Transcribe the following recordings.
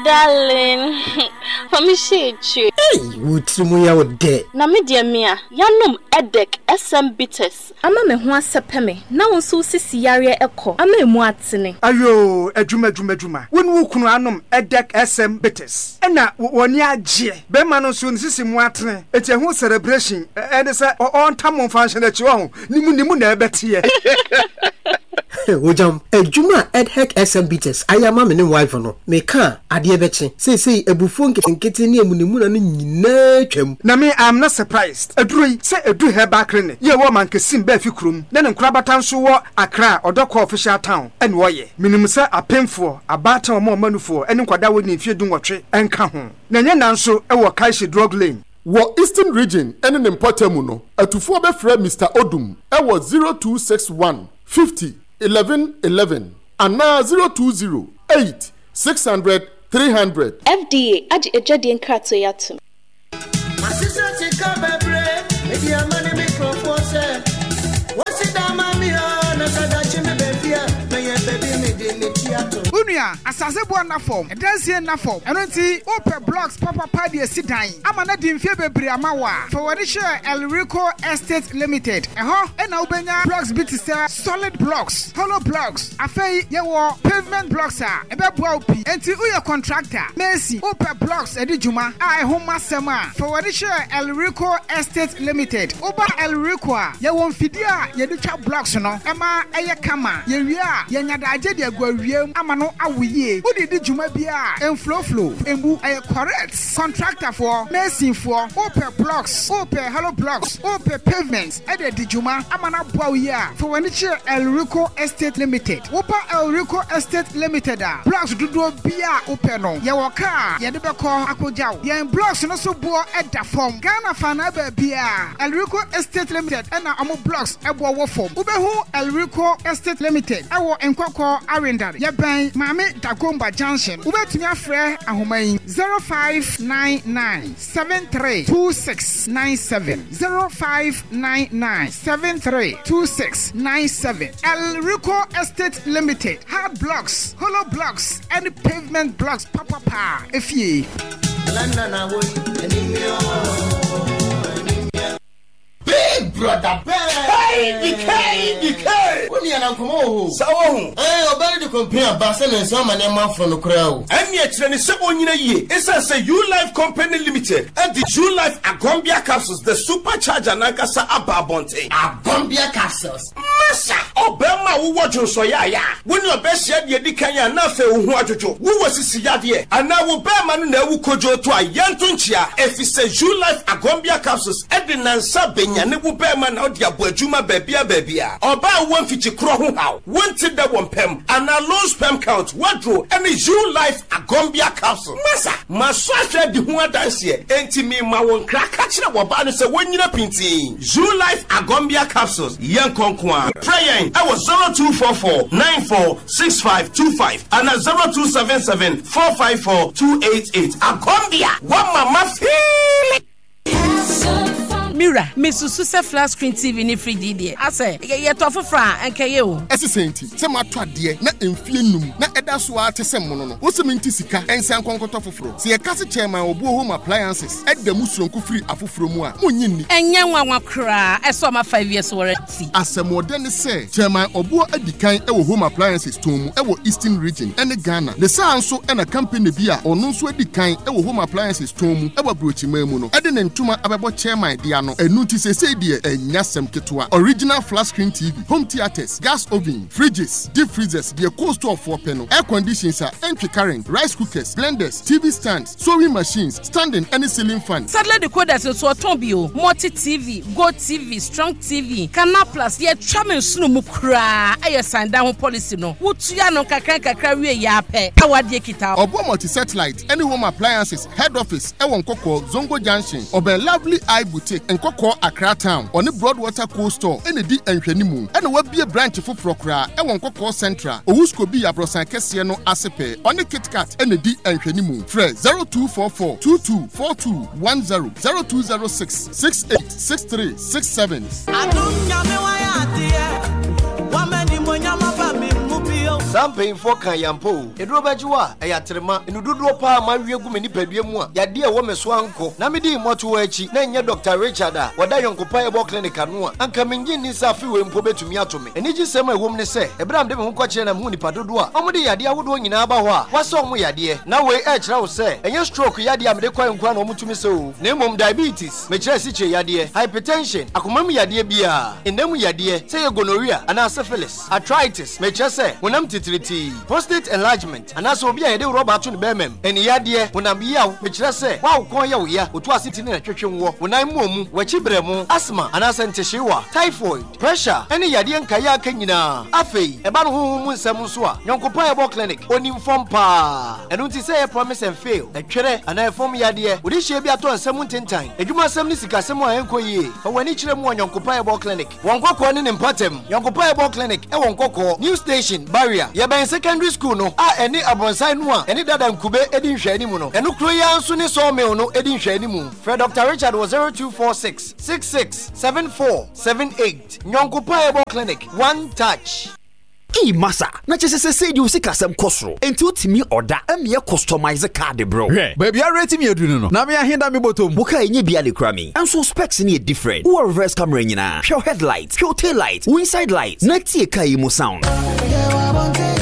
Darling, fa me hyɛ akyire. Ei, wo tiri mu yɛ wo dɛ. Na me deɛ mea, yanom Edek SM Bitters ama me ho asɛpɛ me na wo nso wo sisi yareɛ ɛkɔ ama emu atene. Ayoo adwuma adwuma adwuma. Wo ne wo kunu anom Edek SM Bitters ɛna w'ani agyeɛ. Bɛrima no nso ne sisi mu atene enti ɛho celebration ɛne sɛ ɔntam mo mfa nhyɛ n'akyi wahu ne mu ne mu na ɛbɛteɛ. Ogyam, adwuma a EDHEC SM Bitters ayɛ ama me ne wife no, meka a, adeɛ bɛkye. Seesei abufuo nketenkete ne amunimuna no nyinaa atwam. Na me I'm not surprised. Aduro yi, sɛ ɛdu herbal clinic yi a ɛwɔ Mankesim Baafi kurom na ne nkorabata nso wɔ Accra Ɔdɔkɔɔ official town ɛna ɔyɛ. Menim sɛ apemfoɔ, abaatan wɔn a wɔma nufoɔ ne nkwadaa a wɔnni mfeɛ dunwɔtwe nka ho. Na ɛnyɛ nna nso wɔ Kaishe Drug Lane. Wɔ Eastern Region ne ne mpɔtam no, atufoɔ bɛfrɛ Mister Odum wɔ 0261 50 11 11 anaa 020 8 600 300. FDA agye adwadie nkratoɔ yi atom. Masesa sika bebree mede ama ne me nkurɔfoɔ sɛ wɔnsi dan ma me o na sɛ daakye meba fie a mɛyɛ baabi mede me ti ato. Wo nua, asase boɔ nna fam, ɛdansie nna fam, ɛno nti wopɛ blocks papapa de asi dan ama no adi mfeɛ bebree ama wo a, fa w'ani kyerɛ Elrico Estate Limited. Ɛhɔ na wobɛnya blocks bi te sɛ solid blocks, hollow blocks, afei yɛwɔ pavement blocks a ɛbɛboa wo pii. Enti woyɛ contractor, mason, wopɛ blocks adi dwuma a ɛho mma asɛm a, fa w'ani kyerɛ Elrico Estate Limited. Woba Elrico a, yɛwɔ mfidie a yɛde twa blocks no ma ɛyɛ kama. Yɛwie a, yɛnya daagye de agu awia mu ama no awo yie. Wode di dwuma biara a, ɛnfloflo, ɛmmu, ɛyɛ correct. Contractorfoɔ, masonfoɔ, wopɛ blocks, wopɛ hollow blocks, wopɛ pavement de adi dwuma ama no aboa wo yie a, fa w'ani kyerɛ Elrico Estate Limited. Woba Elrico Estate Limited a, blocks dodoɔ biara a wopɛ no, yɛwɔ kaa a yɛde bɛkɔ akɔgya wo. Yɛn blocks no so boɔ da fam. Ghana faanaa baabiara, Elrico Estate Limited na wɔn blocks boɔ wɔ fam. Wobɛhu Elrico Estate Limited wɔ Nkɔkɔɔ Awendare. Yɛbɛn Maame Dagomba Junction. Wobɛtumi afrɛ ahoma yi, 0599 732697, 0599 732697. Elrico Estate Limited, hard blocks, hollow blocks, ne pavement blocks papapa efie. Big brother bɛɛ. KBK BK. Wo nua na nkɔmɔ wɔ hɔ o. Sa wɔ ho. Ɛɛ ɔbaa no de complain aba sɛ ne nsa ama nneɛma afono no koraa o. Ɛnneɛ kyerɛ no sɛ ɔnyina yie ɛsiane sɛ U-Life Company Limited de U-Life Agombia Capsules, the super charger no ankasa aba abɔnten. Agombia Capsules. Masa! Ɔbarima a wowɔ dwonsɔyaaya a wo ne ɔbaa hyia deɛ edi kan a na afei wo ho adwodwo, wowɔ sisi yadeɛ, anaa wo barima no na awu kodwooto a, yɛnto nkyea, efisɛ Ulife Agombia Capsules de nnansa bɛnyane wo barima na wode abɔ adwuma baabiara baabiara. Ɔbaa a wowɔ mfikyikorɔ ho haw, wonte dɛ wɔ mpam, anaa low sperm count, w'aduro ne Ulife Agombia Capsules. Masa! Masɔ ahwɛ adi ho adanseɛ, enti merema wo nkra, ka kyerɛ w'ɔbaa no sɛ wɔnnyina pintinn. Zoolife Agombia Capsules, yɛnkɔ nko ara. Frɛ yɛn wɔ 0244 94 65 25 anaa 0277 454 288. Agombia, woama mafeeli! Me wura, mesusu sɛ flat screen TV ne fridge yi deɛ, asɛ yɛtɔ foforɔ a, anka ɛyɛ o. Ɛse sɛn nti sɛ matɔ adeɛ na mfie num na ɛda so ara te sɛ mono no, wose mente sika nsan nkɔ nkɔtɔ foforɔ? Sɛ yɛka se Chairman Obuo Home Appliances da mu soronko firi afoforɔ mu a, monnye nni. Ɛnyɛ nwanwa koraa sɛ ɔma 5 years warranty. Asɛmɔdɛ ne sɛ, Chairman Obuo adi kan wɔ Home Appliances tɔn mu wɔ Eastern Region ne Ghana. Ne saa nso na company bi a ɔno nso adi kan wɔ Home Appliances tɔn mu wɔ Aburokyiman mu no de ne ntoma abɛbɔ Chairman de ano. Ɛno nti seesei deɛ ɛnyɛ asɛm ketewa. Original flat screen TV, home theatres, gas oven, fridges, deep freezers, deɛ cold store foɔ pɛ no, air conditions a ɛntwe current, rice cookers, blenders, TV stands, sewing machines, standing ne ceiling fan. Satellite decoders nso ɔtɔn bi o, Multi TV, Go TV, Strong TV, Canal Plus, yɛtwa me nsono mu koraa, ɛyɛ san dan ho policy no, wotua no nkakra nkakra wie yɛ ara pɛ na w'adeɛ kita wo. Ɔboa Multi Satellite ne Home Appliances head office wɔ Nkɔkɔɔ, Zongo Junction, ɔbɛn Lovely Eye Boutique, Nkɔkɔɔ, Accra Town. Ɔne Broadwater Cold Store na ɛdi nhwɛnimu. Ɛna wabue branch foforɔ koraa wɔ Nkɔkɔɔ Central, Owuskobi abrɔsan kɛseɛ no ase pɛɛ. Ɔne KitKat na ɛdi nhwɛnimu. Frɛ 0244 22 42 10, 0206 68 63 67. Adom Nyame wayɛ adeɛ, wama animuonyam aba me mu bio. Saa mpanyimfoɔ kaa yi ampa o. Aduro bɛgye wo a, ɛyɛ aterema. Nnu dodoɔ paa a mawe agu me nipadua mu a yadeɛ a ɛwɔ me so ankɔ na medii mmɔtohɔ akyi na ɛnyɛ Dɔkta Richard a ɔda Yɔnkopa Herbal Clinic ano a, anka mennye nni sɛ afe wei mpo bɛtumi ato me. Anigyesɛm a ɛwom ne sɛ, ɛberɛ a mede me ho kɔkyerɛɛ na mehuu nnipa dodoɔ a wɔde yadeɛ ahodoɔ nyinaa ba hɔ a wɔasa wɔn yadeɛ. Na wei ɛrekyerɛ wo sɛ ɛnyɛ stroke yadeɛ a mede kɔeɛ nko ara na wɔtumi sa o, na mmom diabetes, mekyerɛ asikyire yadeɛ, hypertension, akoma mu yadeɛ biara, nna mu yadeɛ, sɛ ɛyɛ gonorrhea anaa syphilis, arthritis, mekyerɛ sɛ honam titiritii, prostate enlargement, anaasɛ obi a yɛde rɔba ato ne barima mu, ani yadeɛ, honam yaw, mekyerɛ sɛ wo a wo kɔn yɛ wo ya, wo to ase ti ne na twetwe woɔ, wo nan mmɔɔ mu, w'akyi brɛmo, asthma anaasɛ ntehyeewa, typhoid, pressure, ne yadeɛ nkaeɛ a aka nyinaa. Afei, ɛba no honhom mu nsɛm nso a, Nyɔnkopa Herbal Clinic, ɔnim fam paa. Ɛno nti sɛ ɛyɛ promise and fail, ɛtwerɛ, anaa ɛfam yadeɛ, wode hyia bi atɔ nsa mu ntentan, adwumasɛm ne sikasɛm a ɛnkɔ yie, fa w'ani kyerɛ mu wɔ Nyɔnkopa Herbal Clinic. Wɔ Nkɔkɔɔ ne ne mpɔtam, Nyɔnkopa Herbal Clinic wɔ Nkɔkɔɔ, New Station, Barrier. Yɛbɛn Secondary School no a ɛne abrɔnsan no a ɛne Dada Nkube di nhwɛanimu no. Ɛno kuro yi ara nso ne Sawmill no di nhwɛanimu. Frɛ Dɔkta Richard wɔ 0246 66 74 78. Nyɔnkopa Herbal Clinic, One Touch. Eii masa, na kyesɛ sesei deɛ wo sikasɛm kɔ soro, enti wotumi ɔda ɛmeɛ customize car de brɛ wo. Hwɛ, baabi a rate me aduru no no, na me ahe da me bɔtɔ mu. Wo car ɛnyɛ bi a na ekura me, nso wo specs no yɛ different, wowɔ reverse camera nyinaa, hwɛ wo headlight, hwɛ wo tail light, wo inside light, na tie car yi mu sound.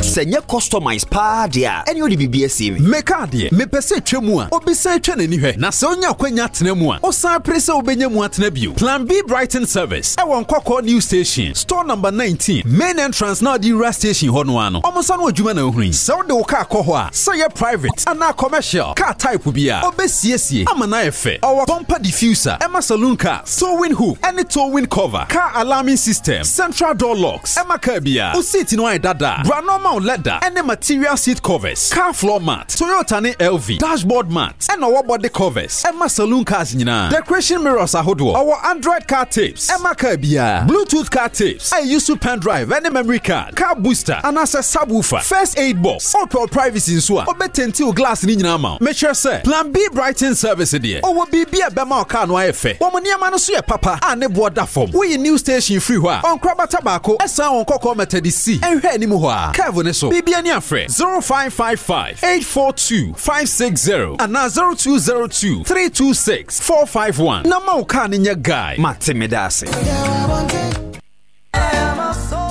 Sɛ ɛnyɛ customize paa deɛ a, ɛneɛ wode biribi asie me. Me car deɛ, mepɛ sɛ ɛtwa mu a, obi san twa n'ani hwɛ, na sɛ onya akwanya tena mu a, osan pere sɛ wobɛnya mu atena bio. Plan B Brighton Service ɛwɔ Nkɔkɔɔ New Station. Store number 19, main entrance na ɔde wura station hɔ no ara no, wɔn nsa no adwuma na wohunu yi. Sɛ wode wo car kɔ hɔ a, sɛ ɛyɛ private anaa commercial, car type biara, ɔbɛsiesie ama no ayɛ fɛ. Ɔwɔ bumper diffuser, ɛma saloon cars, towing hook ne towing cover, car alarming system, central door locks, ɛma car biara. Wo seat no ayɛ dada a, bra na ɔma wo leather ne material seat covers, car floor mat, Toyota ne LV, dashboard mat, ɛna ɔwɔ body covers, ɛma saloon cars nyinaa, decoration mirrors ahodoɔ, ɔwɔ Android car tapes, ɛma car biara, Bluetooth car tapes, a ɛuse pen drive ɛne memory card, car booster anaasɛ subwoofer, first aid box, wopɛ wo privacy nso a, ɔbɛtɛnti wo glass no nyinaa ama wo. Mekyerɛ sɛ, Plan B Brighton Service deɛ, ɔwɔ biribi a ɛbɛma wo car no ayɛ fɛ. Wɔn nneɛma no nso yɛ papa a ne boɔ da fam. Woyi new station firi hɔ a, ɔnkorabata baako ɛsan wɔn kɔkɔɔ Methodist nhwɛ anim hɔ ara, curve no so, biribi ani afrɛ. 0555 842 560 anaa 0202 326 451 na ma wo kaa no nyɛ guy. Mate meda ase.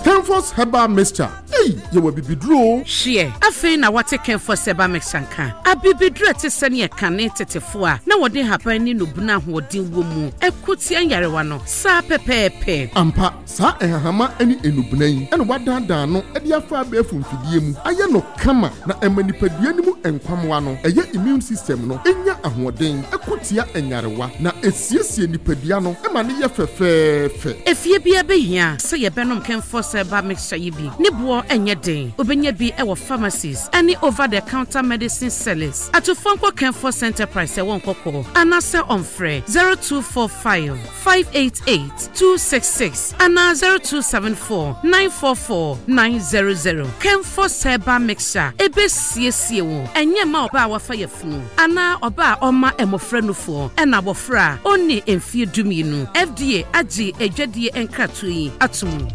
Kenfos Herbal Mixture, ei, yɛwɔ abibiduro o. Hweɛ, afei na woate Kenfos Herbal Mixture nka? Abibiduro a ɛte sɛnea kane tetefo a na wɔde nhaban ne nnubona a ahoɔden wɔ mu ko tia nyarewa no, saa pɛpɛɛpɛ. Ampa, Saa nhahama ne nnubena yi na wɔadaadaa no de afa abɛɛfo mfidie mu ayɛ no kama na ɛma nipadua no mu nkwammoa no, ɛyɛ immune system no, nya ahoɔden ko tia nyarewa na ɛsiesie nipadua no ma no yɛ fɛfɛɛfɛ. Efie biara bɛhia sɛ yɛbɛnom Kenfos Herbal Mixture yi bi. Ne boɔ nyɛ den. Wobɛnya bi wɔ pharmacies ne over the counter medicine sellers. Atufoɔ nkɔ Kenfos Enterprise ɛwɔ Nkɔkɔɔ anaasɛ ɔmfrɛ 0245 588 266 anaa 0274 944 900. Kenfos Herbal Mixture ɛbɛsiesie wo, ɛnyɛ mma ɔbaa a wafa yafunu anaa ɔbaa a ɔma mmɔfra nufoɔ ɛna abɔfra a ɔnnii mfeɛ dumienu. FDA agye adwadie nkratoɔ yi ato mu.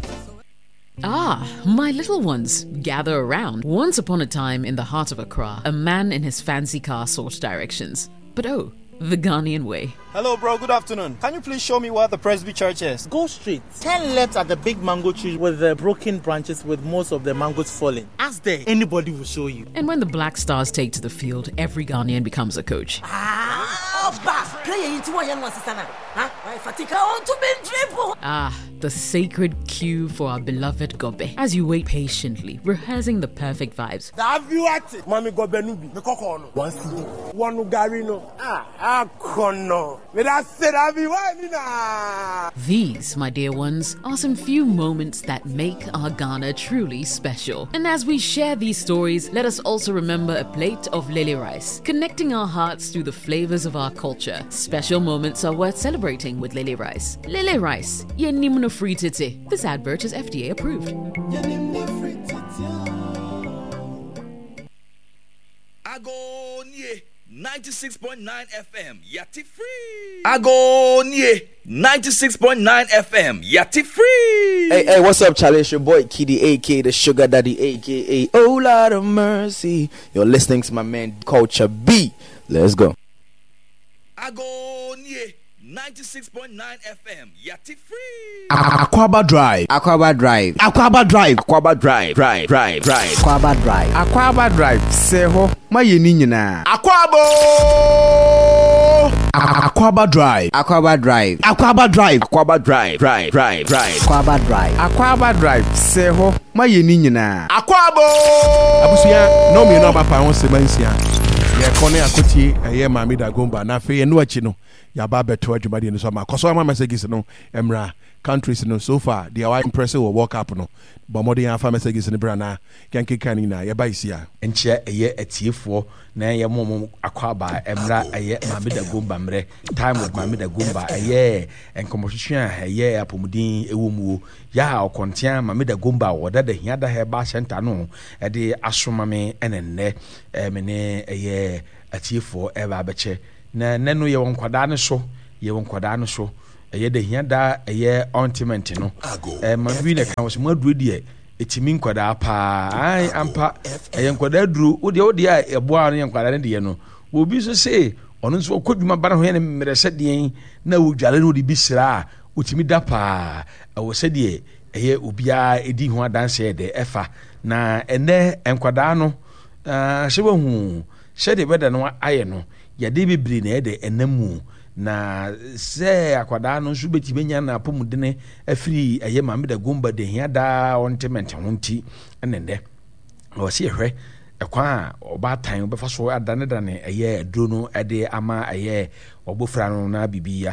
Ah, my little ones, gather around. Once upon a time in the heart of Accra, a man in his fancy car sought directions. But oh, the Ghanaian way. Hello, bro. Good afternoon. Can you please show me where the Presby Church is? Go straight. Turn left at the big mango tree with the broken branches with most of the mangoes falling. Ask there. Anybody will show you. And when the Black Stars take to the field, every Ghanaian becomes a coach. Ah, ah the sacred queue for our beloved Gobe. As you wait patiently, rehearsing the perfect vibes. These, my dear ones, are some few moments that make our Ghana truly special. And as we share these stories, let us also remember a plate of lily rice, connecting our hearts through the flavors of our culture. Special moments are worth celebrating with lily rice. Lily rice, yenimno free titi. This advert is FDA approved. Agonie 96.9 FM yate free. Agonie 96.9 FM yate free. Hey, hey, what's up, Charlie? It's your boy Kiddy, aka the Sugar Daddy, aka Oh Lord of Mercy. You're listening to my man Culture B. Let's go. Agonie 96.9 FM Yati Free. Akwaaba Drive. Akwaaba Drive. Akwaaba Drive. Akwaaba Drive. Drive. Drive. Drive. Akwaaba Drive. Akwaaba Drive. Sɛ hɔ ma yɛn ni nyinaa. Akwaaba ooo. Akwaaba Drive. Akwaaba Drive. Akwaaba Drive. Akwaaba Drive. Drive. Drive. Drive. Akwaaba Drive. Akwaaba Drive. Sɛ hɔ ma yɛn ni nyinaa. Akwaaba ooo. Abusua, nnɔn mmienu aba pa ho sima nsia. Yɛkɔ ne akotie ɛyɛ Maame Dagomba na afei ɛno akyi no yɛaba abɛtoa dwumadie no so ama. Kɔ so ama messages no mmra. Countries no so far deɛ wa impress wɔ World Cup no bɔ mmɔden ara fa messages no bra na yɛnkenkan ne nyinaa. Yɛba yɛsi a. Nkyia ɛyɛ atiefoɔ na yɛ mo mo akwaaba ɛmmra ɛyɛ Maame Dagomba mmerɛ, time with Maame Dagomba, ɛyɛ nkɔmmɔtwetwe a ɛyɛ apɔmuden ɛwɔ mu o, yɛ a ɔkɔntea Maame Dagomba a ɔda da Hiada Herbal Center ano ɛde asoma me ɛna nnɛ me ne ɛyɛ atiefoɔ ɛreba abɛkyɛ. Na nnɛ no yɛwɔ nkwadaa no so, yɛwɔ nkwadaa no so. Ɛyɛ da hia da ɛyɛ ointment no. Ɛma bi na ɛka wɔ sɛ mo aduro deɛ ɛtumi nkwadaa paa. Ae ampa ɛyɛ nkwadaa aduro. Wo deɛ wo deɛ a ɛboa no yɛ nkwadaa no deɛ no. Obi nso se ɔno nso ɔkɔ dwuma ba ne ho yɛ ne mmerɛ sɛ deɛn na ɔdware na ɔde bi sra a ɔtumi da paa. Ɛwɔ sɛdeɛ ɛyɛ obiara ɛdi ho adanseɛ dɛ ɛfa. Na ɛnɛ nkwadaa no sɛ wahu sɛdeɛ bɛda no ayɛ no Yadeɛ bebree na ɛyɛ dɛ ɛnam mu, na sɛ akwadaa no nso bɛtumi anya n'apɔmudene afiri ɛyɛ maame da gomba de hia daa ɔnte mɛnte ho nti ɛne nnɛ ɛwɔ sɛ yɛhwɛ ɛkwan a ɔbaatan bɛfa so adanedane ɛyɛ aduro no ɛde ama ɛyɛ ɔbɔfra no na biribi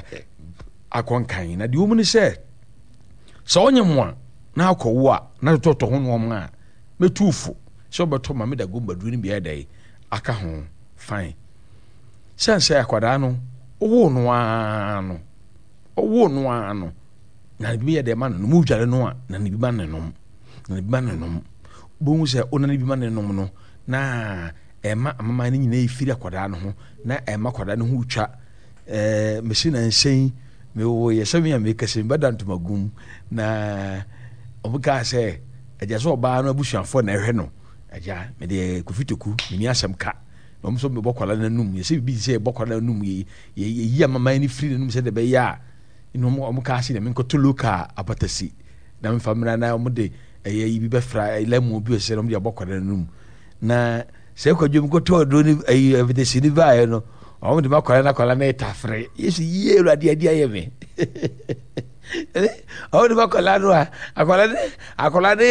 akɔ nkan. Na deɛ wɔmu ne sɛ sɛ ɔnyɛ mo a na akɔwo a na totɔtɔ ho nnoɔma a mɛtu fo sɛ ɔbɛtɔ maame da gomba duro no bi ayɛ dɛ aka ho. Fine. Sɛn sɛ akwadaa no, wowoo no ara no, wowoo no ara no, na ne bi yɛ dɛ ma no nom, wodware no a, na ne bi ma ne nom, na ne bi ma ne nom. Wobɛhu sɛ wona ne bi ma ne nom no, na ɛma amaman no nyinaa ɛfiri akwadaa no ho, na ɛma akwadaa no ho twa. Ɛɛ, mesi na nsɛn, mewɔ yɛ sɛ me a mekasa mi bɛda ntomagum, na wɔn kaa sɛ, agya sɛ ɔbaa no abusuafoɔ na ɛhwɛ no. Agya, me deɛ Kofi Toku, menni asɛm ka. Na wɔn nso mebɔ kwala no anum. Yɛsɛ biribi te sɛ yɛbɔ kwala no anum, yɛyi amaman no firi n'anum sɛdeɛ ɛbɛyɛ a ɛna wɔn wɔn kaa se na menkɔtɔ local apatasi na memfa mmra na wɔn de ɛyɛ yi bi bɛfra lemon bi sɛ wɔn de abɔ kwala no anum. Na sɛ kwadwo mekɔtɔ aduro no ɛyi apatasi no baeɛ no, wɔn de ma kwala no akwala no retafere. Yesu yie Awurade adi ayɛ me. Ɔwɔ de ma akwadaa no a akwadaa no akwadaa no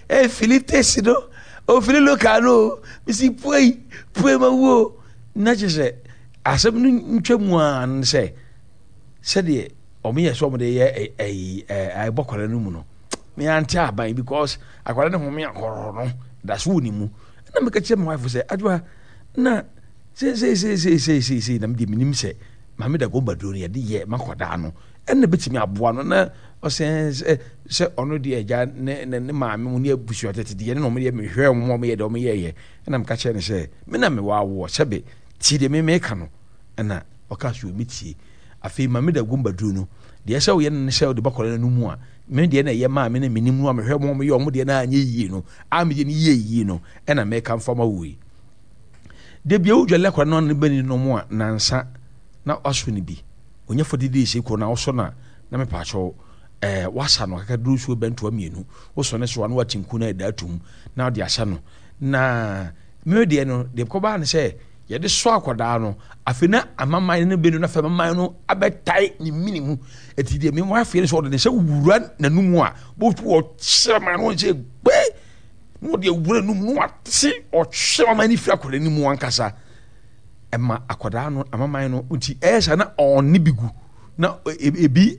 efili tesi no ofili local no bisi pue pue ma wuo na kyerɛ sɛ asɛm no ntwa mu a no sɛ sɛdeɛ wɔn yɛ sɛ wɔn de yɛ ɛyi ɛɛ ɛbɔ akwadaa no mu no me ante aban because akwadaa no home ahorow no da so wɔ ne mu ɛna meka kyerɛ my wife sɛ adwoa na seeseeseeseeseesei na me deɛ menim sɛ maame da gomba duro no yɛde yɛ ma akwadaa no ɛna bɛtumi aboa no na ɔsɛ sɛ sɛ ɔno deɛ agya ne ne ne maame mu ne abusua tete deɛ ne na wɔn yɛ mehwɛ wɔn wɔn yɛ deɛ wɔn yɛɛyɛ ɛna meka kyerɛ no sɛ me na mewɔ awoɔ sɛbe tie deɛ me meka no ɛna ɔka so me tie afei maame da gomba duro no deɛ sɛ woyɛ no ne sɛ wode bɛkɔla no mu a me deɛ na ɛyɛ maa me na menim no a mehwɛ wɔn yɛ wɔn deɛ na anyɛ yie no a meyɛ no yie yie no ɛna meka mfa ma wo yi de bia wodwale akɔla no ano bɛni no mu a nansa na waso no bi Ɔnya 40 days kɔ na wosɔ no a na mepaakyɛw eh, wasa no akaka duro nsuo bɛntoa mmienu wosɔ ne so a na wate nku na ɛda atum na wode asa no na me deɛ no deɛ kɔbaa no sɛ yɛde sɔ akwadaa no afei na amaman no bɛnu na afei amaman no abɛtae ne mini mu ɛti deɛ me afei no sɛ ɔde ne sɛ wura n'anum a bɔtu ɔkyerɛ ma no sɛ gbɛ na ɔde awura n'anum na wate ɔkyerɛ amaman no firi akwadaa no mu ankasa ɛma akwadaa no amaman no nti ɛyɛ saa na ɔne bi gu na ebi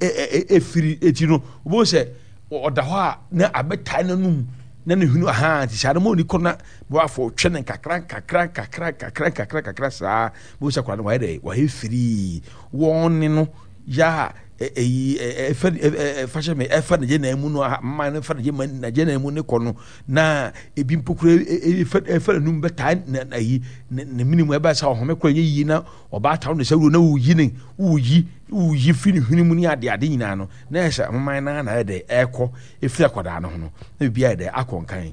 efiri eti no wobɛhu sɛ ɔda hɔ a na abɛtae n'anum na ne hwene ahaa nti saa no ma ɔni kɔ na bɛwafo twɛ ne nkakra nkakra nkakra nkakra nkakra nkakra saa bɛhu sɛ akwadaa no wayɛ dɛ wayɛ firii wɔn ne no yɛ a ɛyi ɛfɛ ɛfahyɛ mi ɛfa ne gye nan mu no mmaa no fa ne gye na gye nan mu ne kɔ no na ebi mpo kura ɛfɛ ɛfɛ n'anum bɛtaa na ayi ne ne mini mu ɛbɛn sɛ ɔhome kora nyɛ yie na ɔbaatan ne sɛ wuro na woyi ne woyi woyi fi ne hwene mu ne ade ade nyinaa no na ɛsɛ ahoman naa na ayɛ dɛ ɛkɔ efiri akwadaa no ho no na biribi ayɛ dɛ akɔ nkan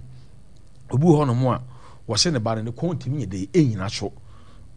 obi wɔ hɔnom a wɔsɛ ne ba no ne kɔn ntumi nyɛ dɛ ɛnyina so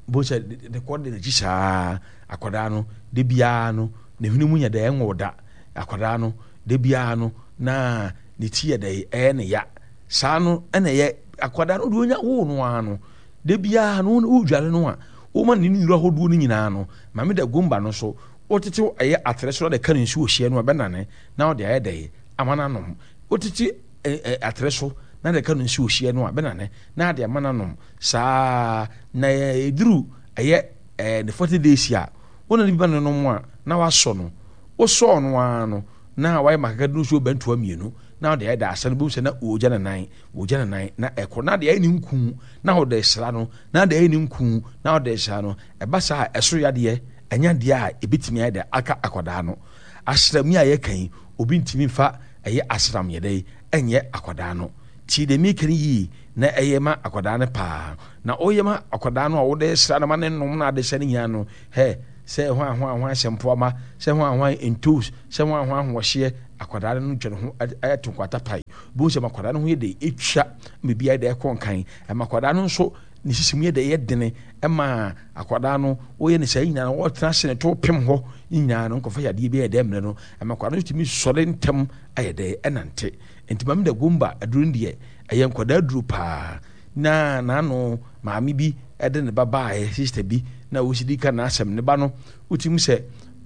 bo sɛ ne kɔn de n'akyi saa Akwadaa no, da biara no, ne hwene mu nyɛ dɛ, ɛnwo da. Akwadaa no, da biara no, na ne ti yɛ dɛ, ɛyɛ ne ya. Saa no na ɛyɛ akwadaa no deɛ onya woo no ara no, da biara no wodware no a, woma ne nnuro ahodoɔ no nyinaa no, Maame da gomba no so, wotetew ɛyɛ atere so na de ka ne nsuo hyeɛ no a, ɛbɛnane na wode ayɛ dɛ ama no anom. Wotete atere so na de ka no nsuo hyeɛ no a, ɛbɛnane na ade ama no anom. Saa na ɛduru ɛyɛ ɛɛ ne 40 days a, wo na ne bi ba no nom a, na wasɔ no. Wosɔɔ no ara no, na wayɛ ma kakra nsuo bɛntoa mmienu, na ɔde ayɛ da asa no, bohu sɛ na ɔregya ne nan, ɔregya ne nan, na ɛkɔ, na ade ayɛ ne nku, na ɔde sra no, na ade ayɛ ne nku, na ɔde sra no. Ɛba saa a, ɛso yadeɛ, ɛnyɛ adeɛ a ɛbɛtumi ayɛ dɛ aka akwadaa no. Asram yi a yɛka yi, obi ntumi mfa ɛyɛ asram yɛ dɛ ɛnyɛ akwadaa no. Tie deɛ meka no yie na ɛyɛ ma akwadaa no paa. Na woyɛ ma akwadaa no a wode sra no ma ne nom na ade hyɛ no nyinaa no, hɛ, sɛ hwan hwan hwan sɛ mpoama, sɛ hwan hwan ntos, sɛ hwan hwan ahoɔhyeɛ, akwadaa no twa ne ho ɛto nkwata pae. Bohu sɛ ma akwadaa no ho yɛ dɛ ɛtwa ma biribi ayɛ dɛ ɛkɔ nkan. Ɛma akwadaa no nso ne sisi mu yɛ dɛ ɛyɛ dene. Ɛma akwadaa no woyɛ ne saa nyinaa no wɔtena ase ne to pem hɔ nyinaa no nkɔfa yadeɛ bi ayɛ dɛ mmerɛ no. Ɛma akwadaa no tumi sɔre ntɛm ayɛ dɛ ɛnante. Nti Maame Dagomba aduro no deɛ ɛyɛ nkwadaa aduro paa. Na n'ano maame bi de ne ba baeɛ, sister bi, na ɔsi di ka n'asɛm. Ne ba no, wotumi sɛ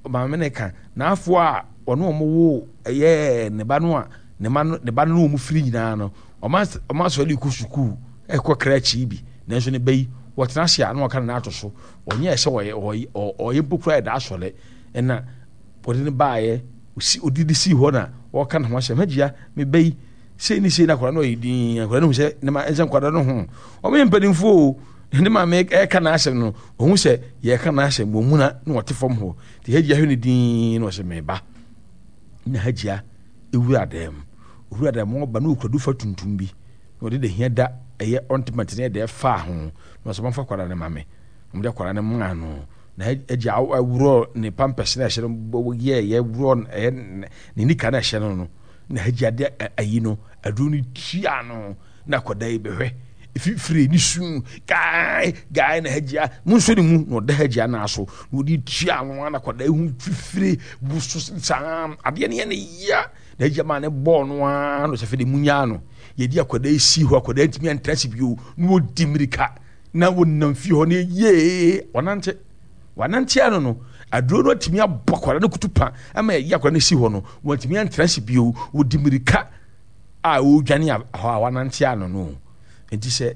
maame no ka n'afoɔ a ɔne wɔn wo ɛyɛ ne ba no a ne ma no ne ba no ne wɔn firi nyinaa no, wɔn asɔre kɔ sukuu ɛkɔ krakye bi. Nanso ne ba yi, wɔtena ase a na wɔka ne nan ato so. Ɔnyɛ sɛ ɔyɛ ɔyɛ ɔyɛ mpo koraa ɛda asɔre. Ɛna wɔde no baeɛ, ɔsi ɔdidi sii hɔ na wɔka ne ho asɛm. Hajiya, me ba yi, sei ne sei na akwadaa no ɔyɛ dinn. Akwadaa no hu sɛ ne ma ɛnsɛ nkwadaa no ho. Wɔn yɛ mpanimfoɔ o. Ne maame ɛka n'asɛm no, ɔhu sɛ yɛka n'asɛm wɔn mu na na wɔte fam hɔ. Nti Hajiya hwɛ no dinn na ɔsɛ me ba. Na Hajiya ewura dan mu. Owura dan mu ɔba na okura dufa tuntum bi. Na ɔde dahia da ɛyɛ ɔntiment ne ɛdɛ faa ho. Na ɔsɛ wɔmfa akwadaa no ma me. Wɔde akwadaa no maa no. Na agya worɔ ne pampers na ɛhyɛ no yɛɛyɛ worɔ ɛyɛ ne nika na ɛhyɛ no no na agya de ayi no aduro no tua no na akwadaa yi bɛhwɛ efifire ne su gae gae na agya mo nso ne mu na ɔda agya naa so na ɔde tua no na akwadaa yi ho fifire woso saa adeɛ no yɛ ne ya na agya maa ne bɔɔ no ara na ɔsɛ fɛ de mu nyaa no yɛde akwadaa yi si hɔ akwadaa ntumi antra se bio na ɔdi mmirika na wɔnam fie hɔ no yie wɔnante wɔnante ano no aduro no atumi abɔ akwadaa no kutu pa ama yɛyi akwadaa no si hɔ no wɔntumi antena ase bio wɔdi mmirika a wɔredwane hɔ a wɔanante ano no nti sɛ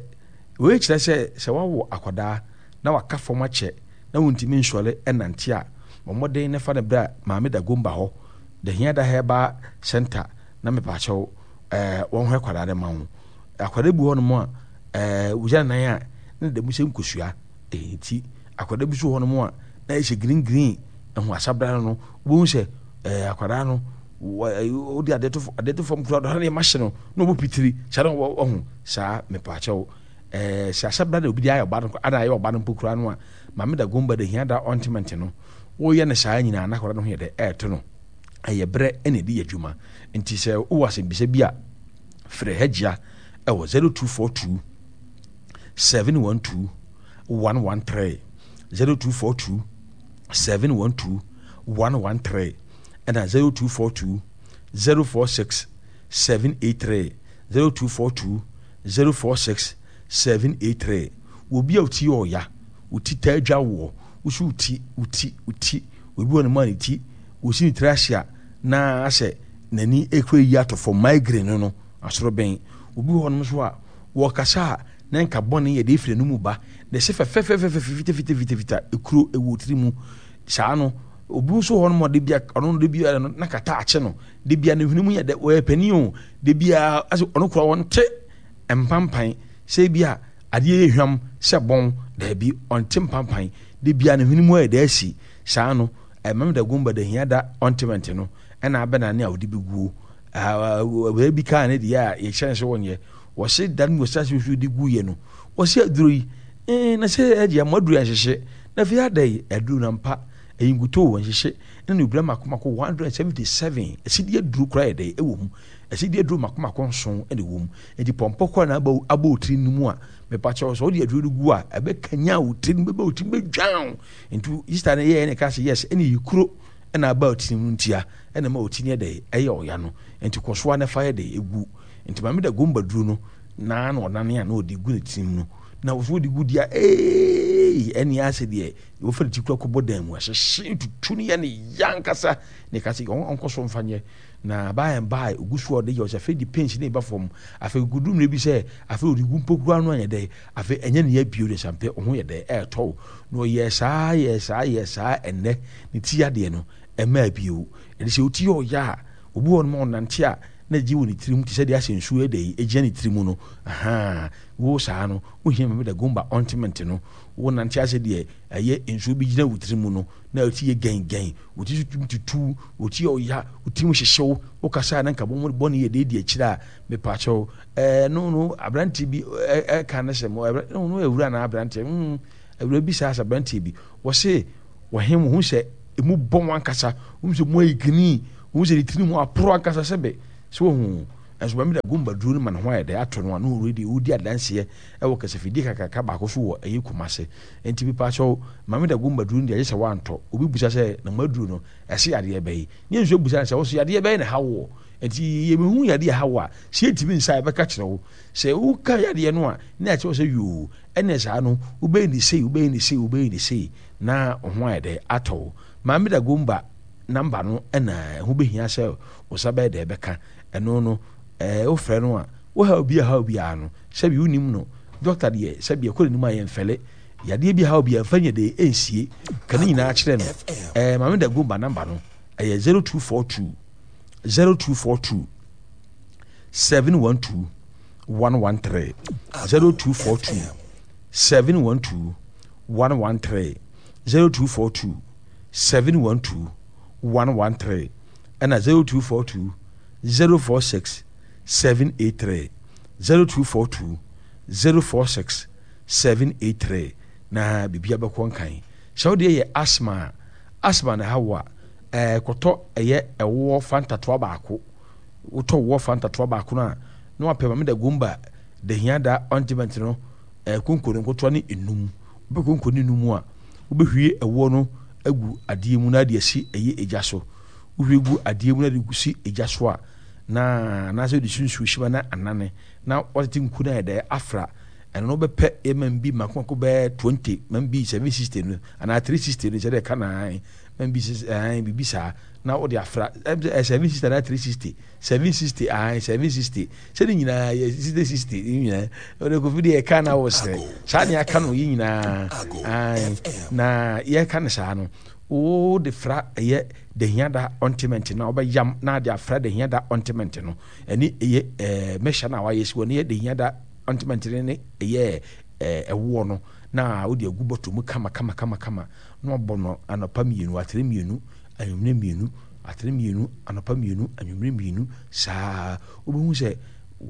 wei kyerɛ sɛ sɛ wawo akwadaa na waka fam akyɛ na wɔntumi nsɔre ɛnante a wɔn mmɔden na fa no berɛ a maame da gomba hɔ the hiada herbal center na mepaakyɛw ɛɛ wɔn hɔ akwadaa no ma wo Akwadaa bi wɔ hɔnom a, ɛɛ wogyina ne nan a, na ne da mu sɛ nkosua. Ɛyi nti, akwadaa bi nso wɔ hɔnom a, na ayɛ sɛ green green. Ɛho asabra no no, wobɛhu sɛ ɛɛ akwadaa no, wode adeɛ to adeɛ to fam koraa, ɔde nneɛma hyɛ no, na ɔbɔ pitiri. Saa na wɔho saa mepaakyɛw. Ɛɛ sɛ asabra na obi de ayɛ ɔba no, ana ayɛ ɔba no mpo koraa no a, maame da gomba da hia da ɔntement no, woyɛ no saa nyinaa na akwadaa no ho yɛ dɛ ɛɛto no. Ɛyɛ berɛ na ɛde yɛ adwuma. Nti sɛ wowɔ asɛmbisa bi a, Frɛ Hajia wɔ 0242 712 113, 0242 712 113 ɛna 0242 046 783, 0242 046 783. Wɔ bi a oti yɛ ɔya, oti taa dwa woɔ, wosi oti, oti, oti, obi wɔ ne mu a ne ti, wɔsi ne tiri ase a na asɛ n'ani kura yi atɔ fam, migraine no no, asorobɛn. Obi wɔ hɔnom nso a, wɔkasa a, na nka bɔne yɛ de efiri n'anum ba, na ɛsɛ fɛfɛfɛfɛfɛ fitafitafitafita, ekuro ɛwɔ tiri mu. Saa no, obi nso wɔ hɔnom a, de bia, ɔno no de bia no, na kata akye no, de bia ne hwene mu yɛ dɛ, wɔyɛ panin o, de bia, asɛ ɔno kura ɔnte mpampan, sɛ bi a adeɛ yɛ hwam sɛ bɔn, daabi, ɔnte mpampan, de bia ne hwene mu ayɛ dɛ asi. Saa no. Ɛmam da gumba da hia da ɔntement no ɛna abɛnane a ɔde bɛguo. Awuraa bi kaa ne deɛ a yɛhyɛ no sɛ wɔnyɛ. Wɔse da no wɔhyɛ ase de guiɛ no, wɔse aduro yi, ee, na sɛ ɛdeɛ mo aduro yɛnhyehye. Na afei ada yi, aduro no ampa, ɛyi nkutoo wɔnhyehye. Ne ne obira mako mako 177, asidi aduro koraa yɛ dɛ ɛwɔ mu. Asidi aduro mako mako nson ɛna ɛwɔ mu. Nti pɔmpɔ koraa na abɔ abɔ otiri no mu a, mepakyɛw sɛ wode aduro no gu a, ɛbɛkanyan wo tiri no, bɛbɛ wo tiri bɛdwan wo. Nti sista no yɛɛ ne ka sɛ yes, ɛne yi kuro ɛna aba otiri mu ntia, ɛna ma otiri no yɛ dɛ ɛyɛ ɔya no. Nti kɔ so ara na fa yɛ dɛ egu. Nti maame da gomba duro no na na ɔnane a na ɔde gu ne tirim no na wɔso wɔde gu deɛ ee ɛne asɛ deɛ wɔfa ne ti kura kɔbɔ dan mu ahyehye tutu no yɛ ne ya ankasa ne ka sɛ ɔnkɔ so mfa nyɛ na by and by ogu so a ɔde yɛ ɔsɛ afei de pains ne ba fam afei gudu mmerɛ bi sɛ afei ɔde gu mpo kura no anyɛ dɛ afei ɛnyɛ ne yɛ bio de sampɛ ɔho yɛ dɛ ɛɛtɔw na ɔyɛ saa yɛ saa yɛ saa ɛnnɛ ne ti yadeɛ no ɛmaa bio ɛde sɛ ɔti yɛ ɔyɛ a obi wɔ no ma ɔnante a na gye wɔ ne tirim te sɛ deɛ asɛ nsuo ɛdɛ yi ɛgyina ne tiri mu no ahaa wo saa no wohia mame da gomba ointment no wo nante asɛ deɛ ɛyɛ nsuo bi gyina wo tiri mu no na ɛti yɛ gɛn gɛn wo ti so tumi tutu wo ti yɛ ɔya wo ti mu hyehyew wo kasa na nka bɔn bɔne yɛ deɛ di akyire a mepaakyɛw ɛɛ no no aberante bi ɛka ne sɛ mo ɛɛ no no awura na aberante mm awura bi saa sɛ aberante bi wɔse wɔhem wo ho sɛ emu bɔ wɔn ankasa wɔn sɛ mu ayɛ gini wɔn sɛ ne tiri mu aporo ankasa sɛ bɛ sɛ wɔn ho nso bɛmi da gomba duro no ma ne ho ayɛ dɛ ato no ano wɔn de wɔdi adanseɛ ɛwɔ kasafidie kakraka baako so wɔ ɛyɛ Kumase nti bi paakyɛw maame da gomba duro no deɛ agye sɛ wantɔ obi busa sɛ na mo aduro no ɛsɛ yadeɛ bɛyi ne nso busa sɛ wɔso yadeɛ bɛyɛ na ha wɔ nti yɛbɛhu yadeɛ ha wɔ a sɛ yɛntumi nsa yɛbɛka kyerɛ wo sɛ woka yadeɛ no a ne akyerɛ sɛ yoo ɛne saa no wobɛyɛ ne sei wobɛyɛ ne sei wobɛyɛ ne sei na wo ho ayɛ dɛ atɔ wo. Maame Dagomba number no na ɛho bɛhia sɛ wo nsa bɛyɛ dɛ bɛka. Ɛno no, ɛɛ wofrɛ no a, wo haw bi a haw biara no, sɛbi wonim no, dɔkta deɛ sɛbi ɛkɔ n'anim a yɛmfɛle. Yadeɛ bi haw biara mfa nyɛ dɛ ɛnsie. Ka ne nyinaa kyerɛ no. Ɛɛ Maame Dagomba number no, ɛyɛ 0242 0242 712 113 0242 712 113 0242 712 113 ɛna 0242 046 783 0242 046 783 na biribi abɛkɔ nkan. Sɛ wodeɛ yɛ asthma a, asthma na ɛha wo a, ɛɛ kɔtɔ ɛyɛ ɛwoɔ fanta toa baako. Wotɔ woɔ fanta toa baako no a, na wapɛ mame da gomba da hia da ointment no ɛɛ konko no nkotoa ne enum. Wopɛ konko ne enum a, wobɛhwie ɛwoɔ no agu adeɛ mu na ade asi ɛyɛ egya so. Wohwie gu adeɛ mu na de si egya so a, na anaasɛ wode si nsuo hyima na anane na watete nku no ayɛ dɛ afra. Ɛno no wobɛpɛ ɛma bi mako mako bɛyɛ 20 ma bi 760 no anaa 360 no sɛdeɛ ɛka na ma bi biribi saa na wode afra ɛɛ 760 anaa 360 760 ahan 760 sɛ ne nyinaa yɛ 60 60 ne nyinaa ɔde kofi deɛ ɛka na wɔ srɛ saa ne aka no yɛ nyinaa ahan na yɛka no saa no wode fra ɛyɛ dahiada ɔntement na wobɛyam na ade afra dahiada ɔntement no ɛne ɛyɛ ɛɛ mɛhyɛ no a wayɛ si wɔ ne yɛ dahiada ɔntement no ne ɛyɛ ɛɛ ɛwoɔ no na wode agu bɔtɔ mu kama kama kama kama na wabɔ no anɔpa mmienu atere mmienu anwummerɛ mmienu, atere mmienu, anɔpa mmienu, anwummerɛ mmienu, saa wobɛhu sɛ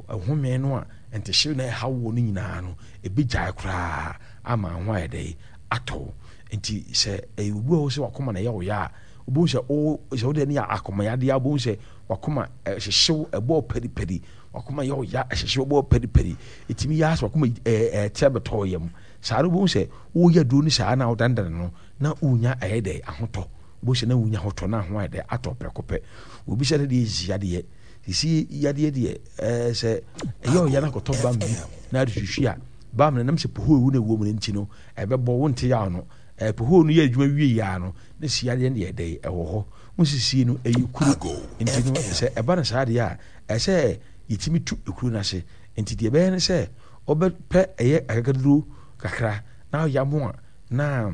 home no a ntehyew na ɛha wo no nyinaa no ɛbɛgyae koraa ama ho ayɛ dɛ atɔ wo. Nti sɛ ɛyɛ obi a wo sɛ wakoma na ɛyɛ wo ya a, wobɛhu sɛ wo sɛ wode ne yɛ akomayadeɛ a wobɛhu sɛ wakoma ɛhyehyew ɛbɔɔ pɛripɛri, wakoma yɛ wo ya ɛhyehyew ɛbɔɔ pɛripɛri, ɛtumi yɛ asɛ wakoma ɛte abɛtɔ yam. Saa no wobɛhu sɛ woyɛ aduro no saa na wodandane no na wonya ɛyɛ dɛ ahotɔ. Wobɛhu sɛ na wonya ahotɔ na ho ayɛ dɛ atɔ prɛko pɛ. Obi sɛ ne deɛ sisi yadeɛ. Sisi yadeɛ deɛ ɛɛ sɛ ɛyɛ ɔya no akɔtɔ bam bi na ade hwehwe a bam no nam sɛ pohoo ewu na ɛwɔ mu no nti no ɛbɛbɔ wo nte yaw no. Ɛɛ pohoo no yɛ adwuma wie yɛ no na si yadeɛ no deɛ ɛdɛ ɛwɔ hɔ. Wo sisi no ɛyɛ kuru nti no sɛ ɛba no saa deɛ a ɛsɛ yɛtumi tu ekuro no ase. Nti deɛ ɛbɛyɛ ne sɛ wobɛpɛ ɛyɛ akakaduro kakra na ɔyam a na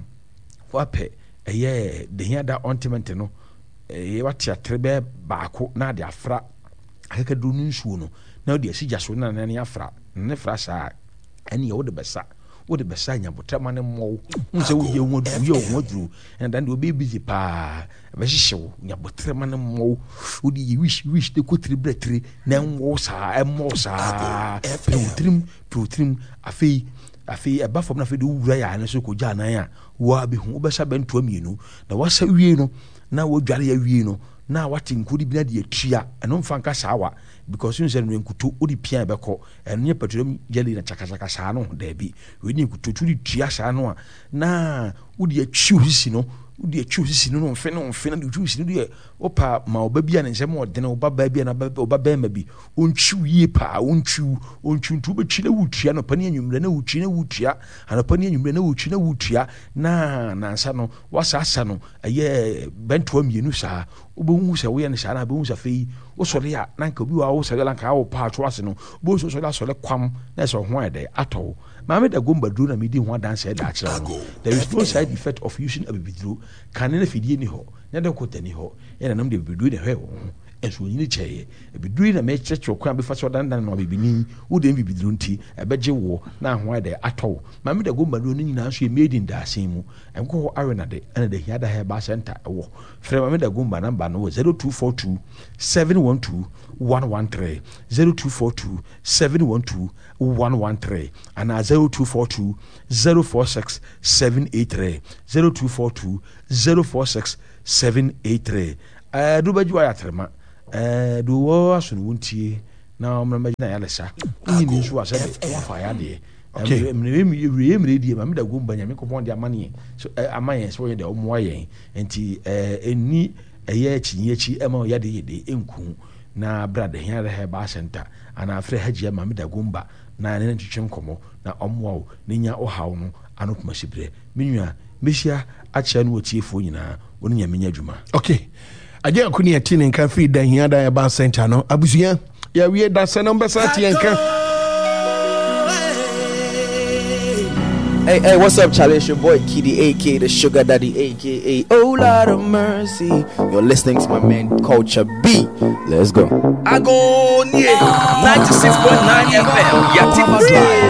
wapɛ ɛyɛ dehiada ɔntement no ɛyɛ wate atere bɛyɛ baako na ade afra akakaduro no nsuo no na wode asi gya so na nane afra ne fra saa ɛne wode bɛsa. Wode bɛsa nya botrɛ ma no mmɔ wo. Wohu sɛ woyɛ ho aduru, woyɛ wo ho aduru. Ɛna dan deɛ wobɛyɛ busy paa. Ɛbɛhyehye wo. Nya botrɛ ma no mmɔ wo. Wode yɛ wish wish de kɔ tiri brɛ tiri na ɛnwɔ wo saa, ɛmmɔ wo saa. Pere wo tirim, pere wo tirim. Afei, afei ɛba fam na afei de wowura yɛ ano so kɔgya anan a, woabɛhu. Wobɛsa bɛntoa mmienu. Na wasa wie no, na wadware awie no, na wate nkuo no bi na de atua. Ɛno mfa nka saa wa. Because wohu sɛ no nkuto, wode pia ɛbɛkɔ. Ɛno nyɛ petroleum jelly na kyakakyaka saa no, daabi. Wei ne nkuto, nti wode tua saa no a, na wode atwi wo sisi no, wode atwi wo sisi no no mfe no mfe no, de twi wo sisi no deɛ, wopa ma ɔba bi a ne nsɛm ɔdene, ɔba baa bi a na ɔba bɛrima bi, ɔntwi wo yie paa, ɔntwi wo, ɔntwi nti wobɛtwi na wotua anɔpa ne anwummerɛ na wotwi na wotua, anɔpa ne anwummerɛ na wotwi na wotua, na nansa no, wasaasa no, ɛyɛ bɛntoa mmienu saa, Wobɛhu sɛ woyɛ no saa na wobɛhu sɛ afei wosɔre a na nka obi wɔ a wosɔre a nka awo paa to ase no wobɛhu sɛ wosɔre asɔre kwam na ɛsɛ ɔho ayɛ dɛ atɔ wo. Maame da gomba duro na medi ho adanse ɛda akyerɛ wo no. There is no side effect of using abibiduro. Kane na fidie ni hɔ, na dɔkota ni hɔ, yɛn nananom de abibiduro na ɛhwɛɛ wɔn ho nso wɔnyini kyɛeɛ. Abibiduro yi na mekyerɛkyerɛ kwan a wobɛfa so adanedane no abibini. Wo deɛ bibiduro nti ɛbɛgye woɔ na ho ayɛ dɛ atɔ wo. Maame da gomba duro no nyinaa nso yɛ made in Daasɛn mu. Nkɔ hɔ Awenade ɛna Dahiada Herbal Center ɛwɔ. Frɛ Maame Dagomba number no wɔ 0242 712 113, 0242 712 113 anaa 0242 046 783, 0242 046 783. Ɛɛ do bɛgye wayɛ atrema ɛɛ do wɔ aso no wontie na ɔmena mɛgyina yalesa wonyi ni nso asɛ de wafa yadeɛ. Okay. Mmerɛ wieɛ mmerɛ die Maame Dagomba Nyame Nkɔpɔn de ama ne so ama yɛn sɛ ɔyɛ deɛ ɔmmoa yɛn nti ɛnni ɛyɛ akyinnye akyi ɛma ɔyɛ de yɛ de ɛnku na bra the Hiara Herbal Center anaa frɛ Hajia Maame Dagomba na ne no ntwetwe nkɔmmɔ na ɔmmoa wo na nya ɔhaw no ano pomasiberɛ. Me nua, mɛhyia akyea ne watiefoɔ nyinaa, wo ne Nyame nyɛ adwuma. Okay. Agye ako ne ɛte ne nka firi da hia da ɛba center no abusua yɛawie da sɛ no mbɛsa te nka. Hey, hey, what's up, Charlie? It's your boy Kiddy, aka the Sugar Daddy, aka Oh Lot of Mercy. You're listening to my man Culture B. Let's go. Agonie 96.9 FM. Yati.